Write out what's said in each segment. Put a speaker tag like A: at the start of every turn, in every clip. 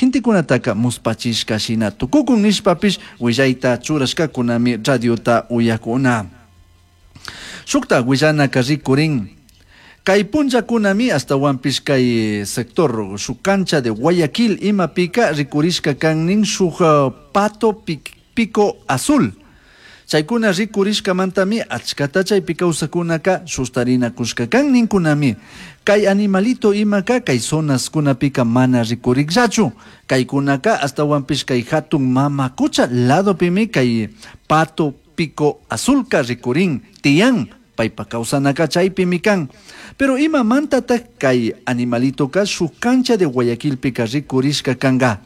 A: gentecunataca muspachishca shina tucucun nishpapish willayta churashcacunami radiota uyacuna. Shukta willanaka rikurin. Kay punllakunami ashtawanpish kay sector shuk cancha de Guayaquil imapika rikurishka kan shuk pato pico azul. Chaykuna rikurishkamantami achkata chaypi kawsakunaka sustarinakushka kan ninkunami. Kay animalito imaka kay zonaskunapika mana rikurikllachu. Kaykunaka ashtawanpish kay hatun mama kucha ladopimi kay pato pico azulka rikurin tiyan paypa kawsanaka chaypimi kan. Pero imamantatak kay animalitoka shuk cancha de Guayaquilpika rikurishka kanka.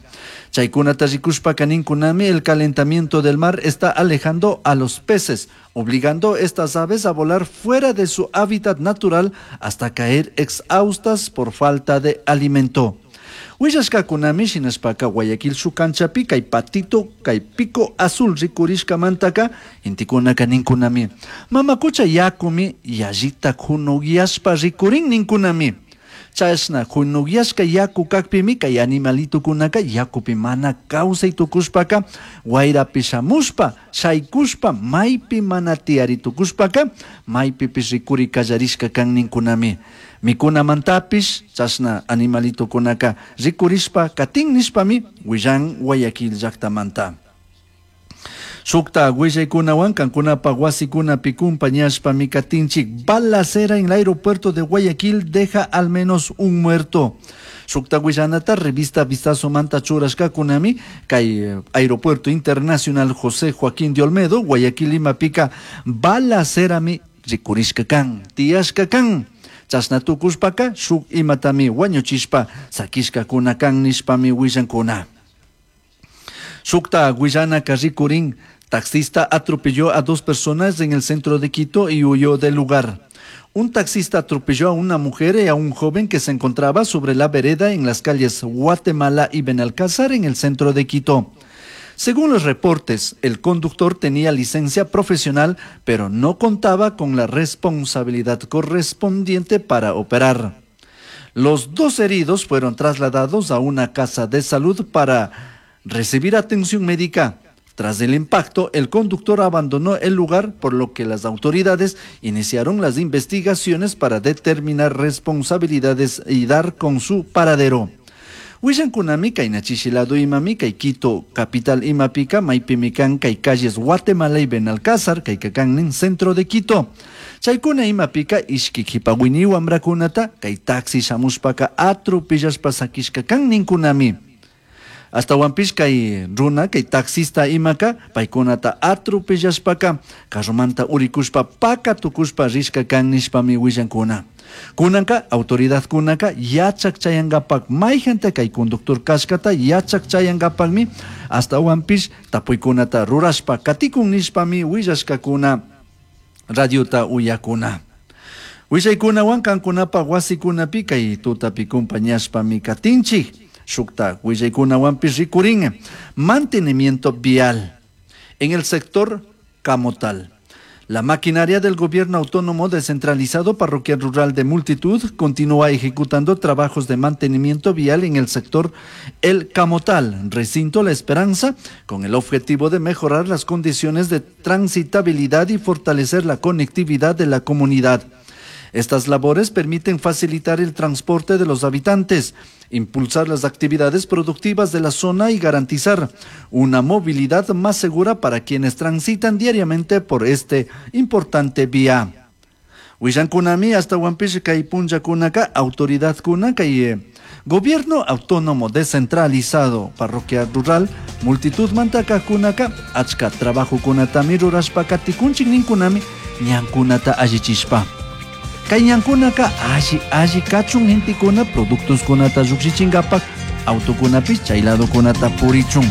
A: Chaykunata rikushpaka ninkunami el calentamiento del mar está alejando a los peces, obligando estas aves a volar fuera de su hábitat natural hasta caer exhaustas por falta de alimento. Willashkakunami shinashpaka Guayaquil shuk canchapi kay patito kay pico azul rikurishkamantaka intikunaka ninkunami. Mamakucha yakumi yallita hunugyashpa rikurin ninkunami. Chashna hunugyashka yaku kakpimi kay animalitukunaka yakupi mana kawsay tukushpaka wayrapi shamushpa shaykushpa maypi mana tiyari tukushpaka maypipish rikuri kallarishka kan ninkunami. Mikunamantapish chashna animalitukunaka rikurishpa katin nishpami willan Guayaquil llaktamanta. Shukta willaykunawan kankunapa wasikunapi kumpañashpami katinchik. Balacera en el aeropuerto de Guayaquil deja al menos un muerto. Shukta willanata revista Vistazo manta churashkakunami kay Aeropuerto Internacional José Joaquín de Olmedo Guayaquil imapika balacerami rikurishka kan tiyashka kan. Chashna tukushpaka shuk imatami wañuchishpa sakishkakuna kan nishpami willankuna. Shukta willanaka rikurin. Taxista atropelló a dos personas en el centro de Quito y huyó del lugar. Un taxista atropelló a una mujer y a un joven que se encontraba sobre la vereda en las calles Guatemala y Benalcázar en el centro de Quito. Según los reportes, el conductor tenía licencia profesional, pero no contaba con la responsabilidad correspondiente para operar. Los dos heridos fueron trasladados a una casa de salud para recibir atención médica. Tras el impacto, el conductor abandonó el lugar, por lo que las autoridades iniciaron las investigaciones para determinar responsabilidades y dar con su paradero. Willankunami kay nachishilado imami kay Quito capital imapika maypimi kan kay calles Guatemala y Benalcázar kay kakan centro de Quito. Chaykuna imapika ishki qhipawini wamrakunata kay taxi shamushpaka atropellashpa sakishka kan ninkunami. Ashtawanpish kay runa kay taxista imaka paykunata atropellashpaka carromanta urikushpa paka tukushpa rishka kan nishpami willankuna. Kunanka autoridadkunaka yachak chayankapak mayjanta kay conductor kashkata yachak chayankapakmi ashtawanpish tapuykunata rurashpa katikun nishpami willashkakuna radiota uyakuna. Willaykunawan kankunapa wasikunapi kay tutapi kumpañashpami katinchik. Shukta willaykunawanpish rikurin mantenimiento vial en el sector Camotal. La maquinaria del gobierno autónomo descentralizado parroquial rural de Multitud continúa ejecutando trabajos de mantenimiento vial en el sector El Camotal, recinto La Esperanza, con el objetivo de mejorar las condiciones de transitabilidad y fortalecer la conectividad de la comunidad. Estas labores permiten facilitar el transporte de los habitantes, impulsar las actividades productivas de la zona y garantizar una movilidad más segura para quienes transitan diariamente por este importante vía. Willankunami ashtawanpish kay punllakunaka autoridad kuna kay gobierno autónomo descentralizado parroquia rural multitud mantaka kunaka achka trabajo kunatami rurashpa katikunchik ninkunami ñankunata allichishpa. Kay ñankunaka alli alli kachun gentekuna productos kunata llukshichinkapak autokunapish chay ladokunata purichun.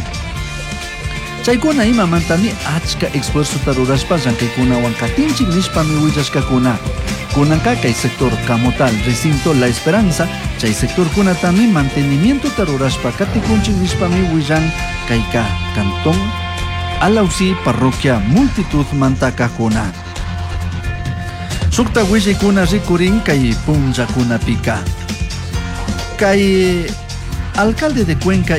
A: Chaykuna imamantami achka esfuerzota rurashpa llankaykunawan katinchik nishpami willashkakuna. Kunanka kay sector Camotal, recinto La Esperanza, chay sectorkunatami mantenimientota rurashpa katikunchik nishpami willan kayka cantón Alausí, parroquia Multitud mantakakuna. Shukta willaykuna rikurin kay punllakunapika. Kay alcalde de Cuenca.